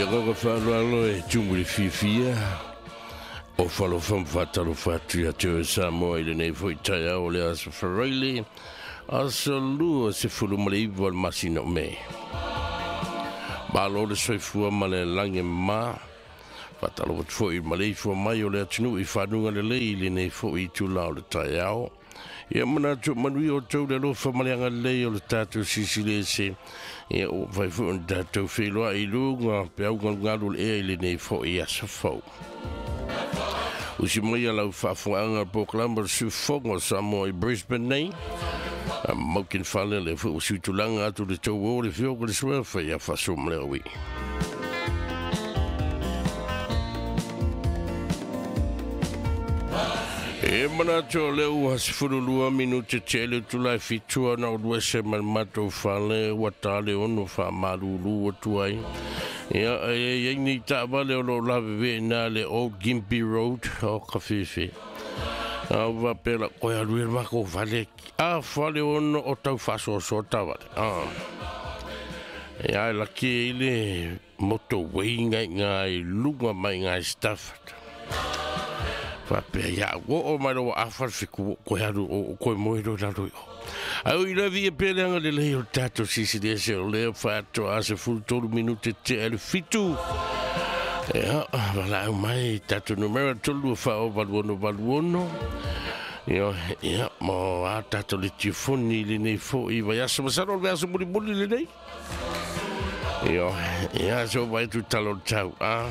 Le agaga faaaloalo e tumu i le fiafia o falofa ma faatalofa atu ia te oe Samoa i lenei foi taeao o le aso Faraile, aso 29 o le masina o Me. Malo le soifua ma le lagi e mama. Faatalofa atu foi i le maleifua mai o le atunuu i fanuga lelei i lenei foi itula o le taeao. Ia manatu manuia outou le alofa ma le agalelei o le tatou Silisili Ese. Ia ua mafai foi ona tatou feiloai i luga peau galugalu o le ea i lenei foi aso fou. Usi mai a lau faafogaaga polokalame o le Siufofoga o Samoa i Brisbane nei. A maukin fale le foi ua suitulaga atu le tou o le fioga le suafa ia Faasoamaleaui. E manatu o lea ua 12 minute tea le itula e 7 ona ou alu ese mai le matou fale ua ta le 6 faamalulu atu ai. Ia, e i ai nei taavale o lo o lavevea i ina le Old Gympie Road o Kafefe. A ua faapea la, koe alu ia i le matou fale, a fale 6 o tau faasoasoa taavale. Ia, e laki ai le motorway ngai i i luga mai i Stafford. Faapea ia au oo mai loa ua afa le 7 koe alu o koe moe loa i lalo i o. Ai o i lavi e pea le agalelei o le tatou Silisili Ese o lea faatoa 13 minute tea i le 7. Ia, valaau mai tatou numera 3 4 8 6 8 6. Ia, ia, mo a tatou le tiofoni i lenei foi vaiaso. Masalo o le vaiaso mulimuli lenei. Ia, ia, so vai tu talo tau, a.